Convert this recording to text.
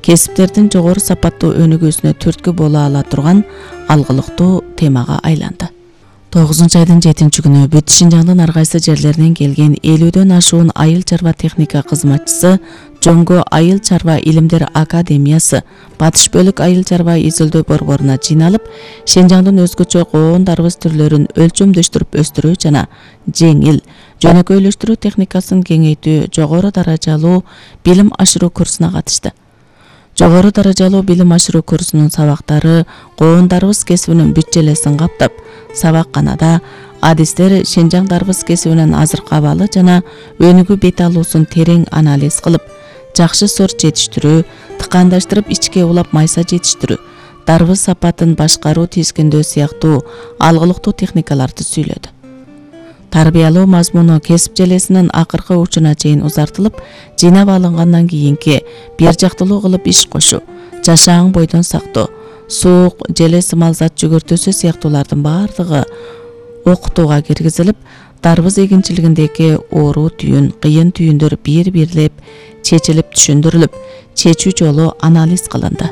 кесиптердин жогору сапаттуу өнүгүүсүнө түрткү боло ала турган алгылыктуу темага айланды. 9-айдын 7-күнү бүт Шинжаңдын ар кайсы жерлеринен келген 50дөн ашуун айыл чарба техника кызматчысы Жоңго Айыл чарба илимдер академиясы Батыш бөлүк айыл чарба изилдөө борборуна жыйналып, Шинжаңдын өзгөчө коондарыбыз түрлөрүн өлчөмдөштүрүп өстүрүү жана жеңил, жөнөкөйлөштүрүү техникасын кеңейтүү жогору даражалуу билим ашыруу курсуна катышты. Жогору даражалуу билим ашыруу курсунун сабактары коондарыбыз кесибинин бүт желесин каптап, сабакканада адистер Шинжаңдарыбыз кесибинин азыркы абалы жана өнүгүү бет алуусун терең анализ кылып, жакшы сорт жетиштирүү, тыкандаштырып ичке улап майса жетиштирүү, дарбыз сапатын башкаруу тизгиндөө сыяктуу алгылыктуу техникаларды сүйлөдү. Тарбиялоо мазмуну кесип желесинин акыркы учуна чейин узартылып, жыйнап алынгандан кийинки бир жактылуу кылып иш кошуу, жашааң бойдон сактоо, суук, желе сымал зат жүгүртүүсү сыяктуулардын бардыгы окутууга киргизилип, дарбыз эгинчилигиндеги оору түйүн, кыйын түйүндөр бир-бирлеп чечилип түшүндүрүлүп, чечүү жолу анализ кылынды.